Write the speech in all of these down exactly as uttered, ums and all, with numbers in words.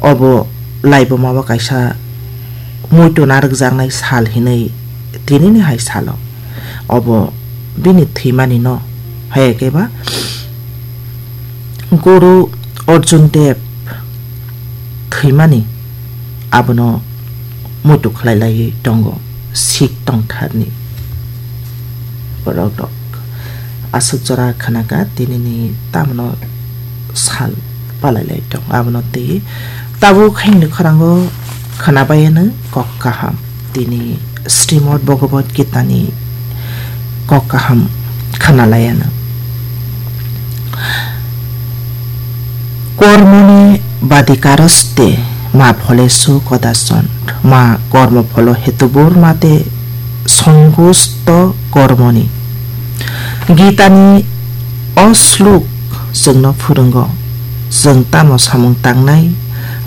Obo laibuma o kaisa muitu narwkjaknai sal hinwi tinini hai salo. Obo bini thwimani no hai khe ba Guru Arjun Dev thwimani abono muitu khlai laiwi tongo Sikh tongtharni borok rok. Aswk jora khwnaka tinini tamno sal palai lai tong abono twi tabuk haini khrango khwnabayano kok kaham tini Srimad Bhagavad Gita ni kok kaham khwnalaiano. Kormoni badikaroste ma pholesu kodachon ma kormo pholo hetubur mate songusto kormoni. Gitani o sluk chwngno phwrwngo, chwng tamo samung tangnai,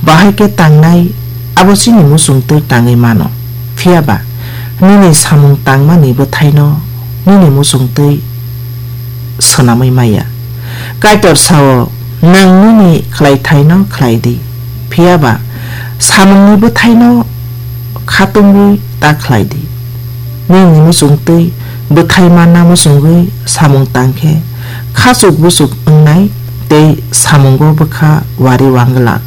bahai khe tangnai, abo chini muchungtwi tangwi mano. Phiya ba nini samung tangmani bwthaino nini muchungtwi swnamwi maya. Kaitor sao, "Nwng nini khlaithaino khlai di, phiya ba samungni bwthaino khatungwi ta khlai di." Nini muchungtwi bwthai manna muchungwi samung tang khe khachuk buchuk wngnai tei samungo bwkha wari wanglak.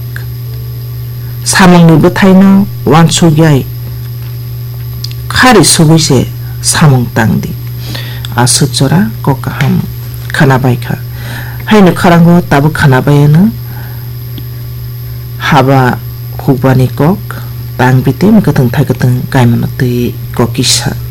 Samungni bwthaino uansuk yai khari sugwi se samung tang di. Aswk jora kok kaham khwnabai kha. Haino khrango tabuk khwnabai ano haba hukbani kok tang biti mwkhwtwng thaikwtwng kaimano twi kok kisa.